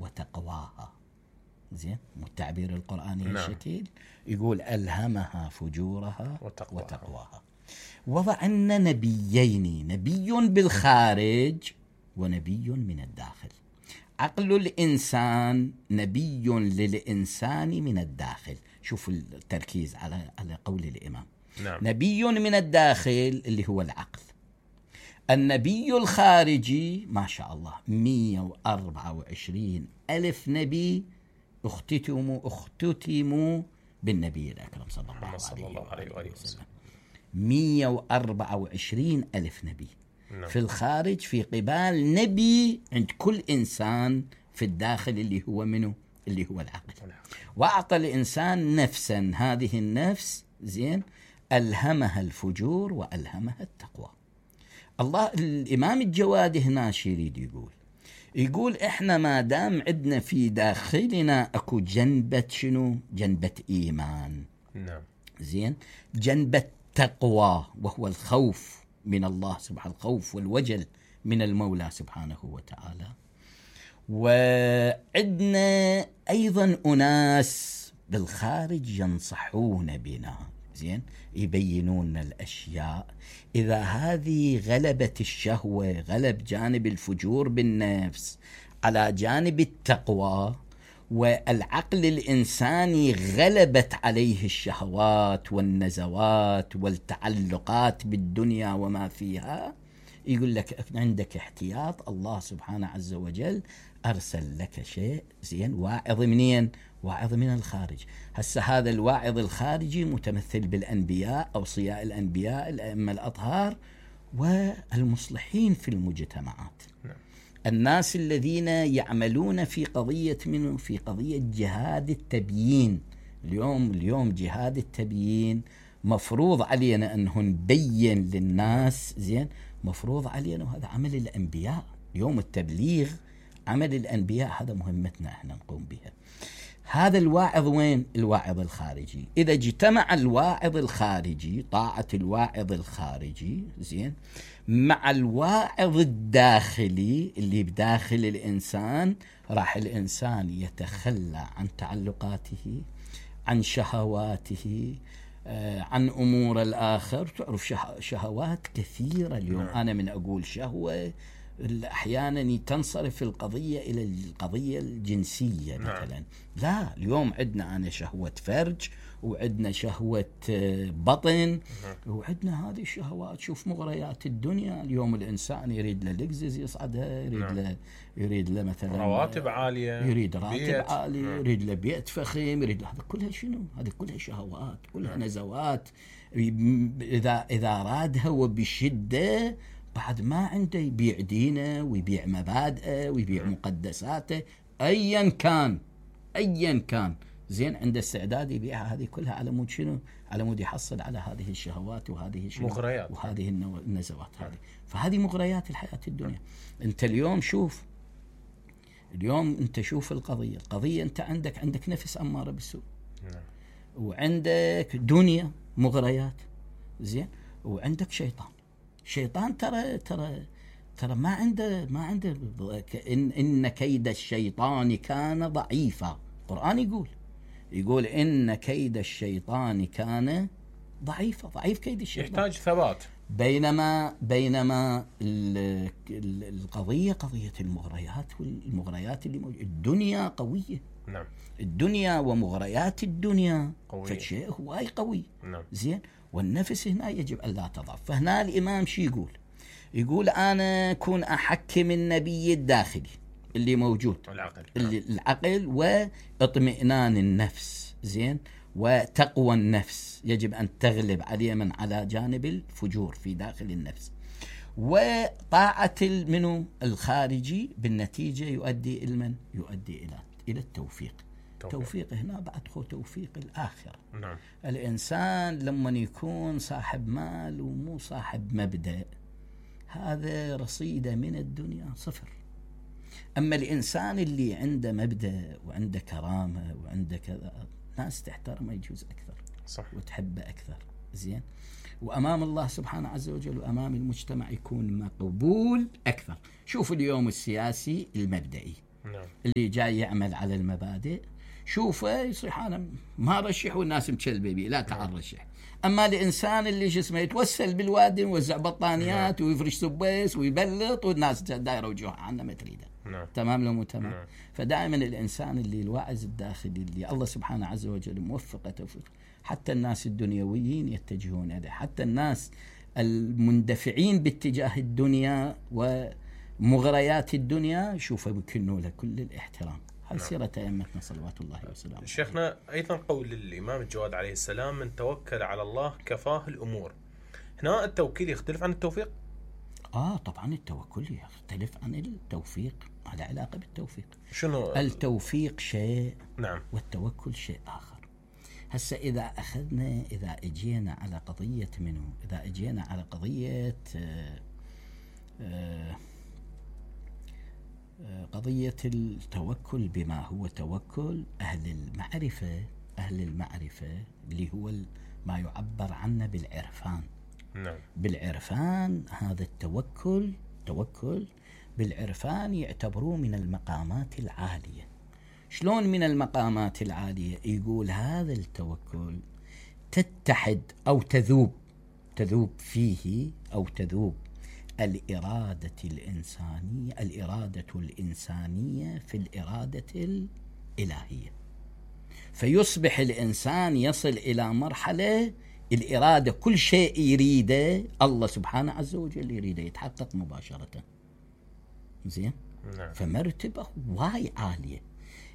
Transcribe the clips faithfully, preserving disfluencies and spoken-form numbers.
وتقواها. زين، مو التعبير القرآني نعم. الشكل يقول ألهمها فجورها وتقواها, وتقواها. وضع لنا نبيين، نبي بالخارج ونبي من الداخل. عقل الإنسان نبي للإنسان من الداخل. شوفوا التركيز على على قول الإمام. نعم. نبي من الداخل اللي هو العقل. النبي الخارجي ما شاء الله مئة وأربعة وعشرين ألف نبي اختتموا اختتموا بالنبي الأكرم صلى الله, صلى الله عليه وآله وسلم. مئة وأربعة وعشرين ألف نبي. نعم. في الخارج في قبال نبي عند كل إنسان في الداخل اللي هو منه اللي هو العقل. وأعطى الإنسان نفسا، هذه النفس زين ألهمها الفجور وألهمها التقوى. الله الإمام الجوادي هنا شي يريد يقول يقول إحنا ما دام عندنا في داخلنا أكو جنبة شنو؟ جنبة إيمان. نعم. زين، جنبة تقوى وهو الخوف من الله سبحانه، الخوف والوجل من المولى سبحانه وتعالى. وعندنا أيضا أناس بالخارج ينصحون بنا، زين، يبينون الأشياء. إذا هذه غلبت الشهوة، غلب جانب الفجور بالنفس على جانب التقوى، والعقل الإنساني غلبت عليه الشهوات والنزوات والتعلقات بالدنيا وما فيها، يقول لك عندك احتياط. الله سبحانه عز وجل أرسل لك شيء زين، واعظ منين؟ واعظ من الخارج. هسه هذا الواعظ الخارجي متمثل بالأنبياء، أوصياء الأنبياء، الأئمة الأطهار، والمصلحين في المجتمعات. الناس الذين يعملون في قضية منه في قضية جهاد التبيين. اليوم اليوم جهاد التبيين مفروض علينا أنه نبين للناس، زين، مفروض علينا، وهذا عمل الأنبياء. يوم التبليغ عمل الأنبياء، هذا مهمتنا احنا نقوم بها. هذا الواعظ وين؟ الواعظ الخارجي. إذا اجتمع الواعظ الخارجي، طاعة الواعظ الخارجي، زين، مع الواعظ الداخلي اللي بداخل الإنسان، راح الإنسان يتخلى عن تعلقاته، عن شهواته، آه، عن أمور الآخر. تعرف شهوات كثيرة اليوم. أنا من أقول شهوة أحيانا تنصرف القضية إلى القضية الجنسية مثلا. لا، اليوم عندنا أنا شهوة فرج، وعندنا شهوة بطن، وعندنا هذه الشهوات. شوف مغريات الدنيا اليوم، الإنسان يريد له لكزز يصعدها، يريد له يريد له مثلا رواتب عالية، يريد راتب عالي، يريد له بيت فخم، يريد له هذا كلها شنو؟ هذه كلها شهوات، كلها نزوات. إذا إذا رادها وبشدة، بعد ما عنده يبيع دينه ويبيع مبادئه ويبيع مقدساته، أيا كان أيا كان، زين، عنده استعداد يبيعها هذه كلها على مود شنو؟ على مود يحصل على هذه الشهوات وهذه مغريات وهذه النزوات هذه. فهذه مغريات الحياة الدنيا. أنت اليوم شوف، اليوم أنت شوف القضية القضية أنت عندك عندك نفس أمارة بالسوء، وعندك دنيا مغريات، زين، وعندك شيطان. شيطان ترى ترى ترى ما عنده ما عنده إن, إن كيد الشيطان كان ضعيفا. القرآن يقول يقول إن كيد الشيطان كان ضعيفا. ضعيف كيد الشيطان، يحتاج ثبات. بينما بينما القضية قضية المغريات، والمغريات اللي موجودة. الدنيا قوية. نعم. الدنيا ومغريات الدنيا قوية. فشيء هواي قوي. نعم. زين، والنفس هنا يجب أن لا تضعف. فهنا الإمام شي يقول يقول أنا أكون أحكم النبي الداخلي اللي موجود، العقل. اللي العقل واطمئنان النفس، زين، وتقوى النفس يجب أن تغلب عليه من على جانب الفجور في داخل النفس. وطاعة منه الخارجي بالنتيجة يؤدي إلى من؟ يؤدي إلى إلى التوفيق. توفيق, توفيق هنا بعد خو توفيق الآخر. نعم. الإنسان لما يكون صاحب مال ومو صاحب مبدأ، هذا رصيده من الدنيا صفر. أما الإنسان اللي عنده مبدأ وعنده كرامة وعنده كذا، ناس تحترمه يجوز أكثر، صح، وتحبه أكثر، زين، وأمام الله سبحانه عز وجل وأمام المجتمع يكون مقبول أكثر. شوف اليوم السياسي المبدئي، نعم. اللي جاي يعمل على المبادئ شوفه يصيح انا ما رشح والناس مكلبه بي، لا تعال رشح. اما الانسان اللي شو اسمه يتوسل بالوادي يوزع بطانيات نعم. ويفرش سبيس ويبلط والناس دايره وجوهها عنه ما تريده. نعم. تمام لو مو تمام. نعم. فدائما الانسان اللي الواعز الداخلي اللي الله سبحانه عز وجل موفقه توفيق، حتى الناس الدنيويين يتجهون اليه، حتى الناس المندفعين باتجاه الدنيا ومغريات الدنيا شوفوا بكنوا له كل الاحترام. هل سيرة أئمتنا صلوات الله وسلامه. شيخنا أيضا قول الإمام الجواد عليه السلام: من توكل على الله كفاه الأمور. هنا التوكيل يختلف عن التوفيق؟ آه طبعا التوكل يختلف عن التوفيق، على علاقة بالتوفيق. شنو التوفيق شيء نعم والتوكل شيء آخر. هسه إذا أخذنا إذا أجينا على قضية منه إذا أجينا على قضية آه آه قضية التوكل بما هو توكل أهل المعرفة أهل المعرفة اللي هو ما يعبر عنه بالعرفان. نعم. بالعرفان هذا التوكل توكل بالعرفان يعتبروه من المقامات العالية. شلون من المقامات العالية؟ يقول هذا التوكل تتحد أو تذوب تذوب فيه أو تذوب الإرادة الإنسانية الإرادة الإنسانية في الإرادة الإلهية، فيصبح الإنسان يصل إلى مرحلة الإرادة كل شيء يريده الله سبحانه عز وجل يريده يتحقق مباشرة. زين. نعم. فمرتبة واي عالية.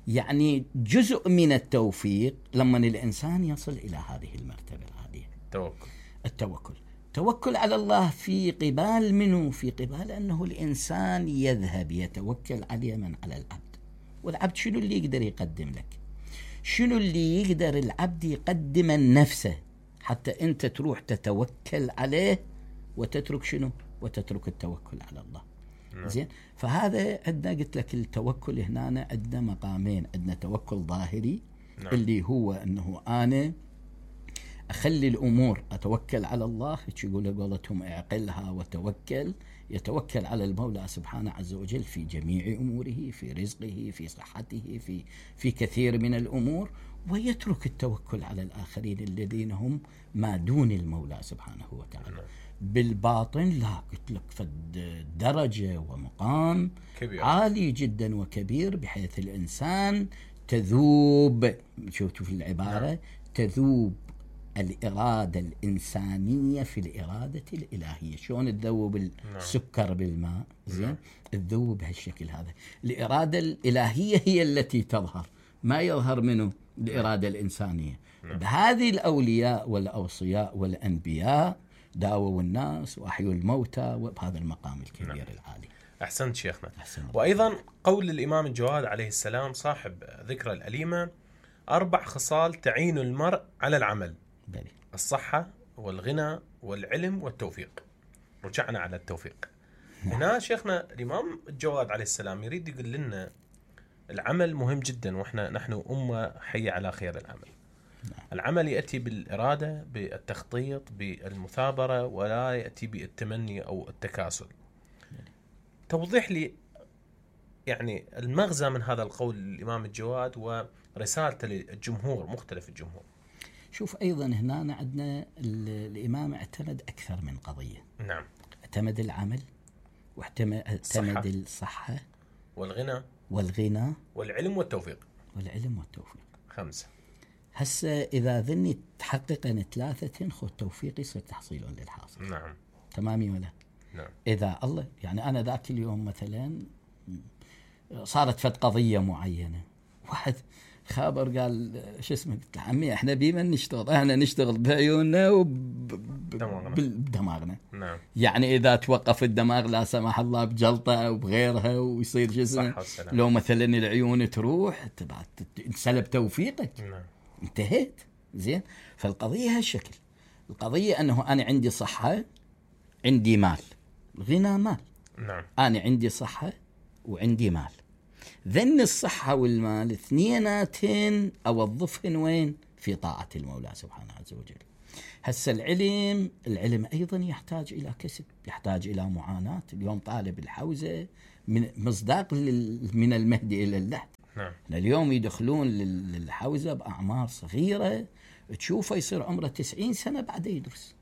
يعني جزء من التوفيق لما الإنسان يصل إلى هذه المرتبة العالية. توكل. التوكل توكل على الله في قبال منه في قبال أنه الإنسان يذهب يتوكل على من على العبد. والعبد شنو اللي يقدر يقدم لك؟ شنو اللي يقدر العبد يقدم نفسه حتى أنت تروح تتوكل عليه وتترك شنو؟ وتترك التوكل على الله. نعم. زين. فهذا عندنا قلت لك التوكل هنا عندنا مقامين. عندنا توكل ظاهري. نعم. اللي هو أنه أنا أخلي الأمور أتوكل على الله، يقول قولتهم اعقلها وتوكل. يتوكل على المولى سبحانه عز وجل في جميع أموره، في رزقه، في صحته، في في كثير من الأمور، ويترك التوكل على الآخرين الذين هم ما دون المولى سبحانه وتعالى. بالباطن لا قلت لك فد درجة ومقام كبير. عالي جدا وكبير بحيث الإنسان تذوب. شوفوا في العبارة. نعم. تذوب الإرادة الإنسانية في الإرادة الإلهية. شلون تذوب السكر بالماء؟ زين. تذوب بهالشكل هذا. الإرادة الإلهية هي التي تظهر، ما يظهر منه الإرادة الإنسانية. بهذه الأولياء والأوصياء والأنبياء داووا الناس وأحيوا الموتى، وبهذا المقام الكبير نعم. العالي. أحسنت شيخنا. أحسنت. وأيضا قول الإمام الجواد عليه السلام صاحب ذكرى الأليمة: أربع خصال تعين المرء على العمل: بلي. الصحة والغنى والعلم والتوفيق. رجعنا على التوفيق. هنا شيخنا الإمام الجواد عليه السلام يريد يقول لنا العمل مهم جدا، وإحنا نحن أمة حية على خير العمل. العمل يأتي بالإرادة، بالتخطيط، بالمثابرة، ولا يأتي بالتمني أو التكاسل. توضيح لي يعني المغزى من هذا القول الإمام الجواد ورسالته للجمهور، مختلف الجمهور. شوف أيضا هنا عندنا الإمام اعتمد أكثر من قضية. نعم. اعتمد العمل، واعتمد الصحة والغنى والغنى والعلم والتوفيق. والعلم والتوفيق. خمسة. هسه إذا ذني تحققن ثلاثة خو التوفيق يصير تحصيل للحاصل. نعم. تمامي ولا؟ نعم. إذا الله يعني أنا ذاك اليوم مثلا صارت فت قضية معينة، واحد خابر قال شو اسمه، قلت له عمي احنا بيما نشتغل، احنا نشتغل بعيوننا وبدماغنا. نعم. يعني اذا توقف الدماغ لا سمح الله بجلطه او بغيرها ويصير شو اسمه، لو مثلا العيون تروح تنسلب توفيقك. نعم. انتهيت. زين. فالقضيه هالشكل. القضيه انه انا عندي صحه، عندي مال. غنى مال. نعم. انا عندي صحه وعندي مال. ذن الصحة والمال اثنيناتين أوظفهن وين؟ في طاعة المولى سبحانه عز وجل. هسه العلم العلم أيضا يحتاج إلى كسب، يحتاج إلى معاناة. اليوم طالب الحوزة من مصداق من المهدي إلى اللحد. نعم. اليوم يدخلون للحوزة بأعمار صغيرة، تشوفه يصير عمره تسعين سنة بعد يدرس.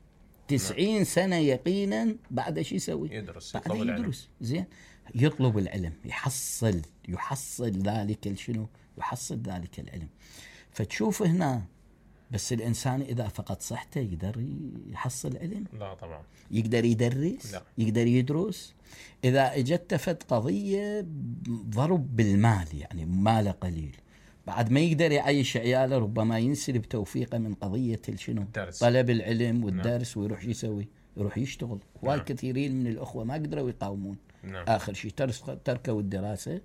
تسعين نعم. سنة يقينا بعد شو يسوي؟ يدرس. بعد يدرس. زين، يطلب العلم، يحصل يحصل ذلك الشنو؟ يحصل ذلك العلم. فتشوف هنا بس الإنسان إذا فقد صحته يقدر يحصل علم؟ لا طبعا. يقدر يدرس؟ لا. يقدر يدرس؟ إذا اجت فد قضية ضرب بالمال، يعني ماله قليل، بعد ما يقدر يعيش عياله، ربما ينسلب توفيقه من قضية الشنو؟ الدرس. طلب العلم والدرس. نعم. ويروح يسوي؟ يروح يشتغل. نعم. والكثيرين من الأخوة ما قدروا يقاومون. نعم. آخر شيء تركوا الدراسة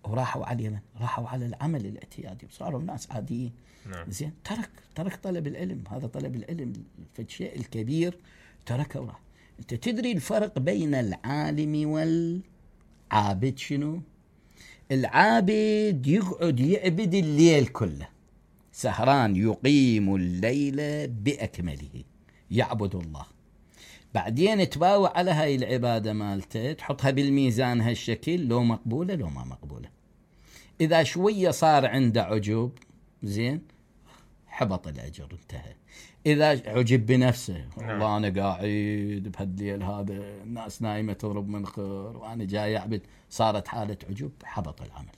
وراحوا على اليمن، راحوا على العمل الاعتيادي، صاروا ناس عاديين. نعم. زين، ترك ترك طلب العلم. هذا طلب العلم فالشيء الكبير تركه وراح. انت تدري الفرق بين العالم والعابد شنو؟ العابد يقعد يعبد الليل كله، سهران، يقيم الليل بأكمله، يعبد الله. بعدين تباوع على هاي العبادة مالته، تحطها بالميزان هالشكل، لو مقبولة لو ما مقبولة. إذا شوية صار عنده عجب، زين، حبط الأجر، انتهى. إذا عجب بنفسه، والله أنا قاعد بهالليل هذا الناس نايمة تضرب منخر وأنا جاي أعبد، صارت حالة عجب، حبط العمل.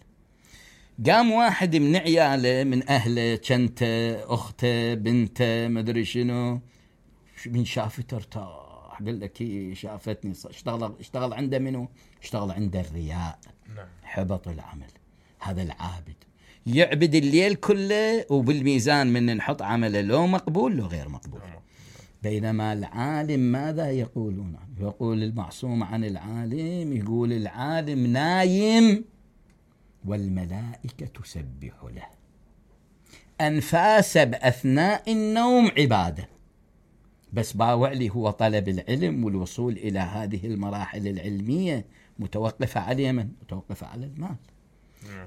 قام واحد من عياله، من أهله، كنته، أخته، بنته، مدري شنو، من شافته ارتاح، قال لك هي شافتني، اشتغل اشتغل عنده منه؟ اشتغل عنده الرياء. نعم. حبط العمل. هذا العابد يعبد الليل كله، وبالميزان من نحط عمله لو مقبول لو غير مقبول. بينما العالم ماذا يقولون؟ يقول المعصوم عن العالم، يقول العالم نايم والملائكة تسبح له، أنفاس بأثناء النوم عبادة. بس باوعلي هو طلب العلم والوصول إلى هذه المراحل العلمية متوقفة على اليمن، متوقفة على المال،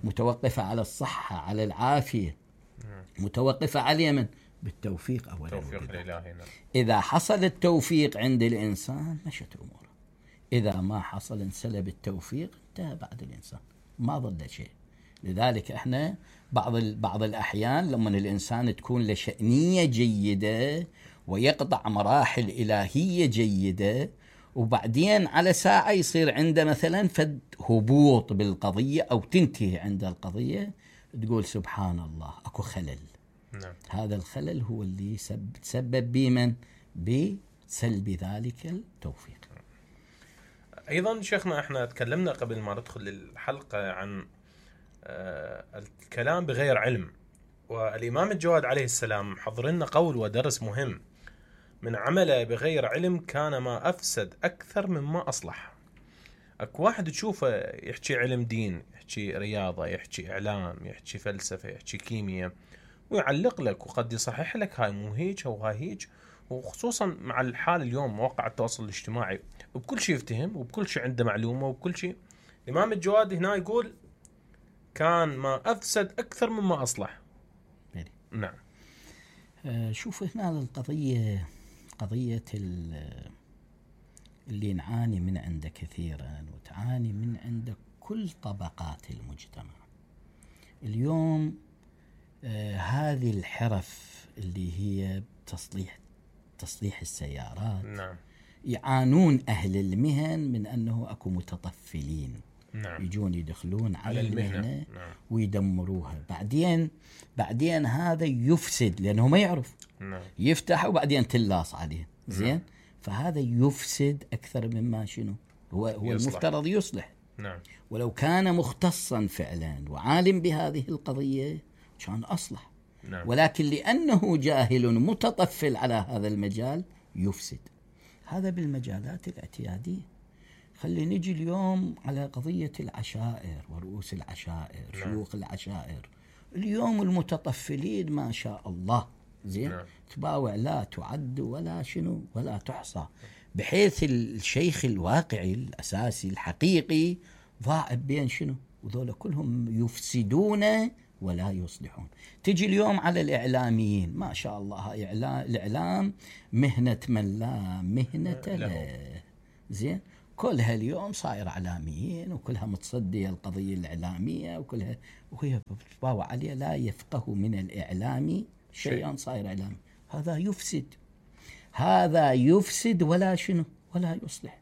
متوقفة على الصحة، على العافية، متوقفة على اليمن، بالتوفيق أولا. توفيق الإلهي. إذا حصل التوفيق عند الإنسان مشت أموره، إذا ما حصل انسلب التوفيق، انتهى بعد الإنسان، ما ظل شيء. لذلك احنا بعض بعض الأحيان لما الإنسان تكون له شأنية جيدة ويقطع مراحل إلهية جيدة، وبعدين على ساعة يصير عنده مثلا فد هبوط بالقضية أو تنتهي عند القضية، تقول سبحان الله أكو خلل. نعم. هذا الخلل هو اللي سبب بمن؟ بسلب ذلك التوفيق. أيضا شيخنا احنا تكلمنا قبل ما ندخل الحلقة عن الكلام بغير علم، والإمام الجواد عليه السلام حضر لنا قول ودرس مهم: من عمل بغير علم كان ما أفسد أكثر مما أصلح. أكو واحد تشوفه يحكي علم دين، يحكي رياضة، يحكي إعلام، يحكي فلسفة، يحكي كيمياء، ويعلق لك وقد يصحح لك هاي مو هيك أو هاي هيك. وخصوصا مع الحال اليوم مواقع التواصل الاجتماعي، وبكل شيء يفتهم وبكل شيء عنده معلومة وبكل شيء. الإمام الجواد هنا يقول كان ما أفسد أكثر مما أصلح. بلي. نعم. آه شوف هنا القضية، قضية اللي نعاني من عنده كثيرا وتعاني من عنده كل طبقات المجتمع اليوم. آه هذه الحرف اللي هي تصليح تصليح السيارات. نعم. يعانون أهل المهن من أنه أكو متطفلين. نعم. يجون يدخلون على, على المهنة, المهنة. نعم. ويدمروها. بعدين بعدين هذا يفسد لأنه ما يعرف. نعم. يفتح وبعدين تلاص عليه. زين. نعم. فهذا يفسد أكثر مما شنو هو هو يصلح. المفترض يصلح. نعم. ولو كان مختصا فعلا وعالم بهذه القضية كان أصلح. نعم. ولكن لأنه جاهل متطفل على هذا المجال يفسد. هذا بالمجالات الاعتيادية. خلي نجي اليوم على قضية العشائر ورؤوس العشائر. نعم. شيوخ العشائر اليوم المتطفلين ما شاء الله. زين. نعم. تباوع لا تعد ولا شنو ولا تحصى، بحيث الشيخ الواقعي الأساسي الحقيقي ضاع بين شنو، وذولا كلهم يفسدون ولا يصلحون. تجي اليوم على الإعلاميين، ما شاء الله هاي الإعلام مهنة من لا مهنة له. زين، كلها اليوم صاير إعلاميين وكلها متصدية القضية الإعلامية وكلها، وهي باو عليه لا يفقه من الإعلام شيئا، صاير إعلامي. هذا يفسد، هذا يفسد ولا شنو ولا يصلح.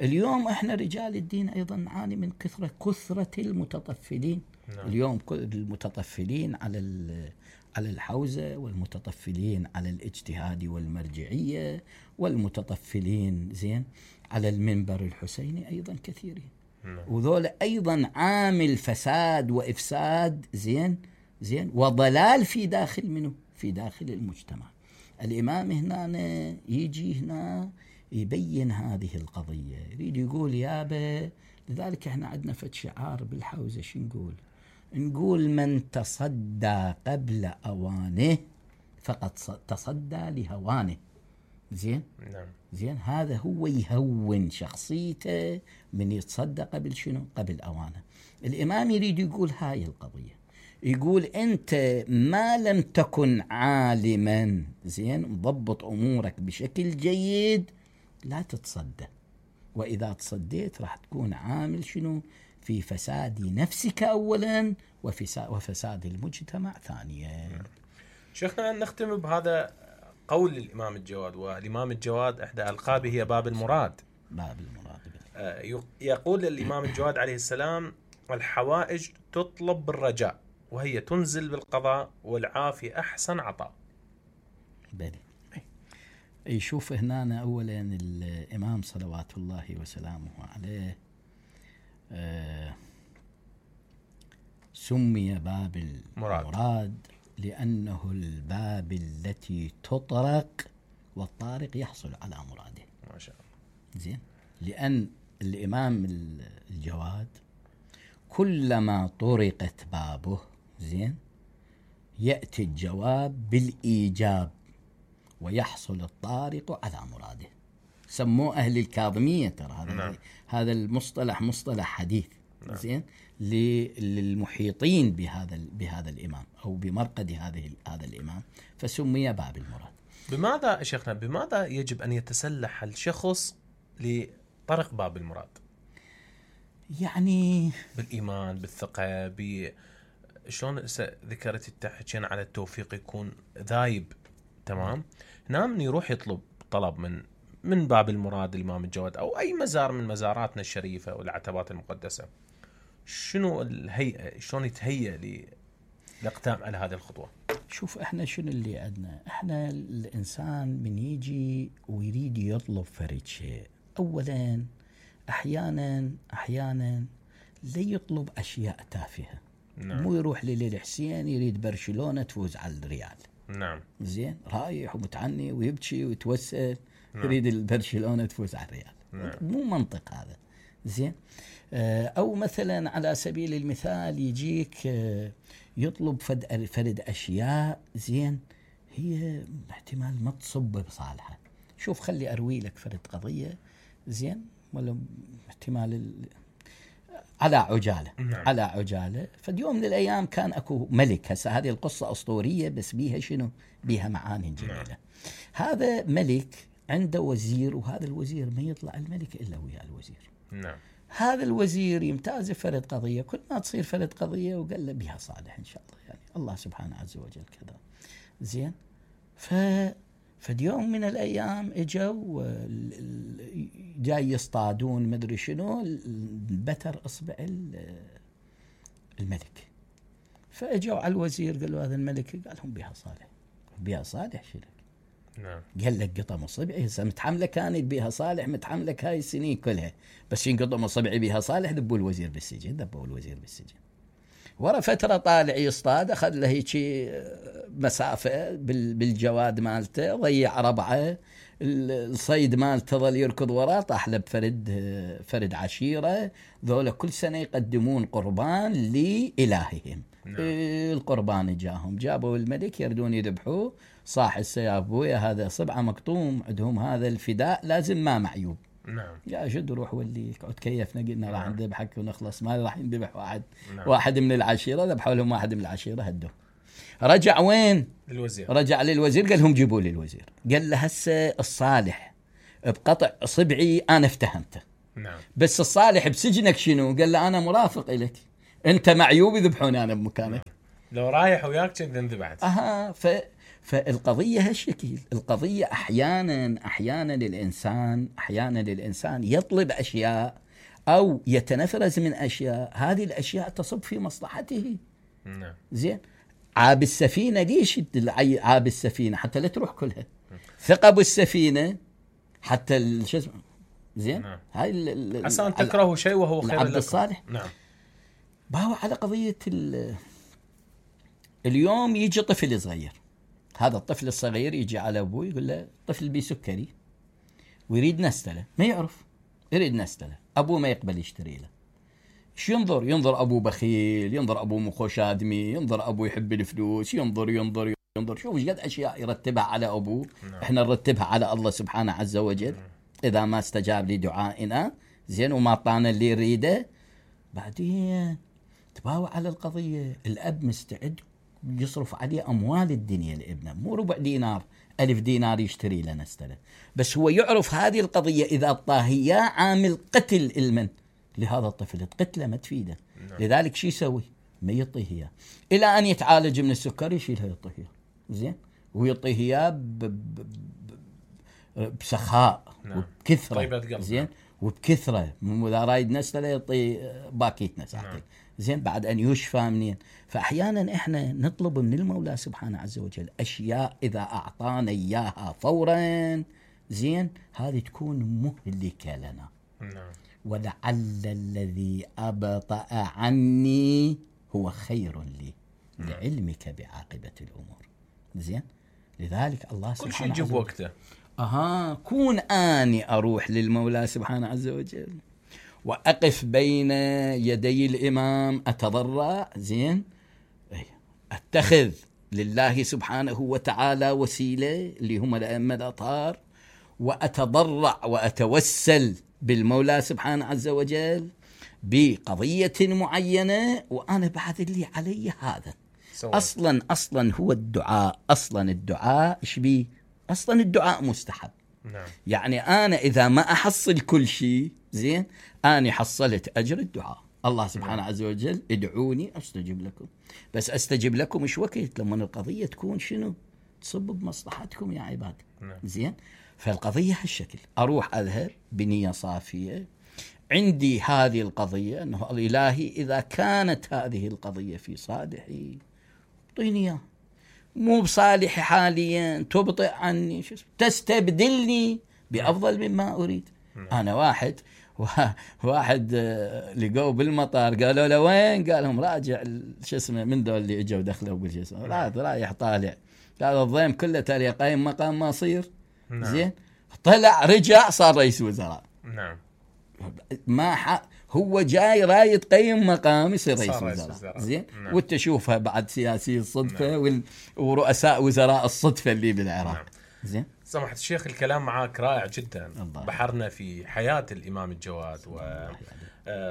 اليوم احنا رجال الدين ايضا نعاني من كثرة كثرة المتطفلين. نعم. اليوم المتطفلين على على الحوزة، والمتطفلين على الاجتهاد والمرجعية، والمتطفلين زين على المنبر الحسيني ايضا كثيرين. نعم. وذول ايضا عامل فساد وافساد زين زين وضلال في داخل منه في داخل المجتمع. الامام هنا يجي هنا يبين هذه القضية، يريد يقول يابا. لذلك احنا عندنا فد شعار بالحوزة، شو نقول؟ نقول من تصدى قبل أوانه فقد تصدى لهوانه. زين؟ نعم. زين، هذا هو يهون شخصيته من يتصدى قبل شنو؟ قبل أوانه. الإمام يريد يقول هاي القضية، يقول أنت ما لم تكن عالما زين مضبط أمورك بشكل جيد لا تتصدى، وإذا تصديت راح تكون عامل شنو؟ في فساد نفسك أولا وفساد المجتمع ثانيا. شيخنا نختم بهذا قول الإمام الجواد، والإمام الجواد إحدى ألقابه هي باب المراد. باب المراد. يقول الإمام الجواد عليه السلام: الحوائج تطلب بالرجاء وهي تنزل بالقضاء، والعافي أحسن عطاء. بلي. يشوف هنا أولا الإمام صلوات الله وسلامه عليه آه سمي باب المراد مراد لأنه الباب التي تطرق والطارق يحصل على مراده. ما شاء الله. زين، لأن الإمام الجواد كلما طرقت بابه زين يأتي الجواب بالإيجاب ويحصل الطارق على مراده. سموه أهل الكاظمية، ترى هذا نعم. هذا المصطلح مصطلح حديث. نعم. زين، للمحيطين بهذا بهذا الإمام أو بمرقد هذه هذا الإمام، فسمي باب المراد. بماذا شيخنا بماذا يجب أن يتسلح الشخص لطرق باب المراد؟ يعني بالإيمان، بالثقة، ب شلون ذكرت التحكين على التوفيق يكون ذايب. تمام. نعم، يروح يطلب طلب من من باب المراد الإمام الجواد أو أي مزار من مزاراتنا الشريفة والعتبات المقدسة. شنو الهيئة؟ شلون يتهيأ للاقدام على هذه الخطوة؟ شوف، احنا شنو اللي عندنا؟ احنا الإنسان من يجي ويريد يطلب فرد شيء، أولا أحيانا أحيانا لا يطلب أشياء تافهة. نعم. مو يروح للحسين يريد برشلونة تفوز على الريال. نعم. زين، رايح ومتعني ويبكي ويتوسل. نعم. يريد البرشلونة تفوز على الريال. نعم. مو منطق هذا. زين، أو مثلا على سبيل المثال يجيك يطلب فرد فرد أشياء زين هي احتمال ما تصب بصالحه. شوف، خلي أروي لك فرد قضية زين ولا احتمال ال... على عجالة. نعم. على عجالة. فاليوم من الأيام كان أكو ملك، هسه هذه القصة أسطورية بس بيها شنو؟ بيها معاني جميلة. نعم. هذا ملك عنده وزير، وهذا الوزير ما يطلع الملك إلا ويا الوزير. نعم. هذا الوزير يمتاز فرد قضية، كل ما تصير فرد قضية وقال له بها صالح إن شاء الله، يعني الله سبحانه عز وجل كذا. زين، ف فاليوم من الأيام إجوا جاي يصطادون مدري شنو، بتر إصبع الملك. فإجوا على الوزير قالوا هذا الملك، قال لهم بها صالح. بها صالح شنو؟ نعم. قال لك قطم اصبعي، هسه متحمله كانت بها صالح، متحملك هاي السنين كلها، بس ينقطم اصبعي بها صالح ذبوا الوزير بالسجن. ذبوا الوزير بالسجن. ورا فتره طالع يصطاد، اخذ له هيك مسافه بالجواد مالته، ضيع ربعه، الصيد مالته ظل يركض وراه، طاح له بفرد فرد عشيره، ذولا كل سنه يقدمون قربان لالههم. نعم. القربان جاهم، جابوا الملك يردون يذبحوه، صاح السياف بويا هذا صبعه مقطوم، عندهم هذا الفداء لازم ما معيوب. نعم. يا جد روح ولي اقعد كيفنا قلنا راح نعم. نذبحك ونخلص، ما راح ينذبح واحد. نعم. واحد من العشيرة ذبحوا لهم واحد من العشيرة هدوه. رجع وين؟ الوزير. رجع للوزير قال لهم جيبوا لي الوزير. قال له هسه الصالح بقطع صبعي انا افتهمته. نعم. بس الصالح بسجنك شنو؟ قال له انا مرافق لك، انت معيوب يذبحوني انا بمكانك. لو رايح وياك كنت انذبحت. اها ف فالقضيه هالشكل. القضيه احيانا احيانا الانسان احيانا الانسان يطلب اشياء او يتنفرز من اشياء، هذه الاشياء تصب في مصلحته. نعم. زين. عاب السفينه ليش عاب السفينه؟ حتى لا تروح كلها. ثقب السفينه حتى شو اسمه. زين. نعم. هاي عسى ان تكرهوا شيء وهو خير العبد لكم. الصالح. نعم. باو على قضيه اليوم يجي طفل صغير، هذا الطفل الصغير يجي على ابوه يقول له طفل بي سكري ويريد نستله، ما يعرف يريد نستله، ابوه ما يقبل يشتري له. ايش ينظر؟ ينظر ابوه بخيل، ينظر ابوه مخوش ادمي، ينظر ابوه يحب الفلوس، ينظر ينظر ينظر شوف ايش قد اشياء يرتبها على ابوه. نعم. احنا نرتبها على الله سبحانه عز وجل. نعم. اذا ما استجاب لدعائنا زين وما اعطانا اللي يريده، بعدين تباوع على القضيه. الاب مستعد يصرف عليه اموال الدنيا لابنه، مو ربع دينار الف دينار يشتري له نستله، بس هو يعرف هذه القضيه اذا اعطاه اياه عامل قتل المن لهذا الطفل، تقتله ما تفيده. نعم. لذلك شو يسوي؟ ما يعطيه اياه الى ان يتعالج من السكر، يشيلها يعطيه اياه. زين. ويعطيه اياه ب... ب... ب... بسخاء. نعم. وبكثره. طيبة قلب. زين. وبكثره، اذا رايد نستله يعطي باكيت نساكل. نعم. زين. بعد ان يشفى منين. فاحيانا احنا نطلب من المولى سبحانه عز وجل اشياء اذا اعطانا اياها فورا زين هذه تكون مهلكه لنا. نعم. ولعل الذي ابطأ عني هو خير لي لعلمك بعاقبه الامور. زين. لذلك الله كل سبحانه شيء يجيب وقته. اها كون اني اروح للمولى سبحانه عز وجل واقف بين يدي الامام اتضرع. زين. اتخذ لله سبحانه وتعالى وسيله اللي هم الائمه الاطهار، واتضرع واتوسل بالمولى سبحانه عز وجل بقضيه معينه، وانا بعد اللي علي هذا. سوي. اصلا اصلا هو الدعاء، اصلا الدعاء ايش بيه؟ اصلا الدعاء مستحب. نعم. يعني انا اذا ما احصل كل شيء زين اني حصلت اجر الدعاء. الله سبحانه نعم. عز وجل ادعوني استجب لكم، بس استجب لكم ايش وقت؟ لما القضيه تكون شنو؟ تصب بمصلحتكم يا عباد. نعم. زين. فالقضيه هالشكل، اروح اذهب بنيه صافيه، عندي هذه القضيه انه الالهي اذا كانت هذه القضيه في صالحي اعطيني اياه، مو بصالحي حاليا تبطئ عني شو تستبدلني بافضل مما اريد. نعم. انا واحد واحد لقوه بالمطار قالوا له وين؟ قال لهم راجع شو اسمه من دول اللي اجوا دخلوا بالشو اسمه رايح طالع. قال الضيم كله تالي قايم مقام ما يصير. نعم. زين. طلع رجع صار رئيس وزراء. نعم. ما ح... هو جاي رايد قيم مقام يصير رئيس وزراء. وزراء. زين. نعم. وتشوفها بعد سياسي الصدفه. نعم. وال... ورؤساء وزراء الصدفه اللي بالعراق. نعم. زين. سمحت الشيخ الكلام معك رائع جدا. الله. بحرنا في حياة الإمام الجواد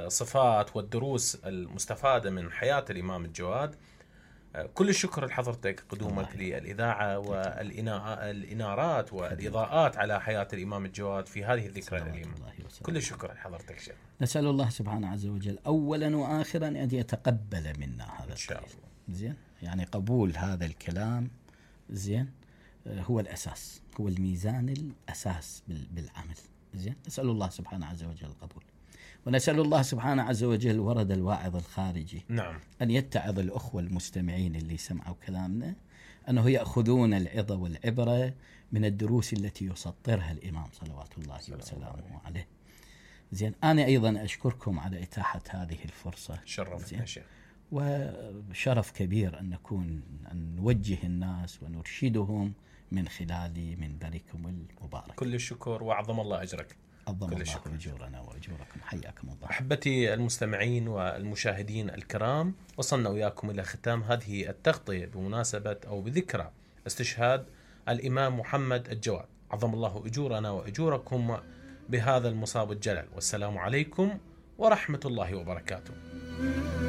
وصفات والدروس المستفادة من حياة الإمام الجواد. كل الشكر لحضرتك قدومك للإذاعة والإنارات والإضاءات على حياة الإمام الجواد في هذه الذكرى الأليمة. كل الشكر لحضرتك شيخ. نسأل الله سبحانه عز وجل أولا وآخرا أن يتقبل منا هذا إن شاء الله. زين. يعني قبول هذا الكلام زين هو الأساس، هو الميزان الأساس بالعمل. زين. نسأل الله سبحانه عز وجل القبول، ونسأل الله سبحانه عز وجل ورد الواعظ الخارجي. نعم. أن يتعظ الأخوة المستمعين اللي سمعوا كلامنا أنه يأخذون العظة والعبرة من الدروس التي يسطرها الإمام صلوات الله وسلامه عليه. زين. أنا أيضا أشكركم على إتاحة هذه الفرصة. شرفتنا شيخ. وشرف كبير أن نكون أن نوجه الناس ونرشدهم من خلال منبركم المبارك. كل الشكر وأعظم الله أجرك. عظم الله أجورنا وأجوركم. حياكم الله. أحبتي المستمعين والمشاهدين الكرام، وصلنا وياكم إلى ختام هذه التغطية بمناسبة أو بذكرى استشهاد الإمام محمد الجواد. عظم الله أجورنا وأجوركم بهذا المصاب الجلل. والسلام عليكم ورحمة الله وبركاته.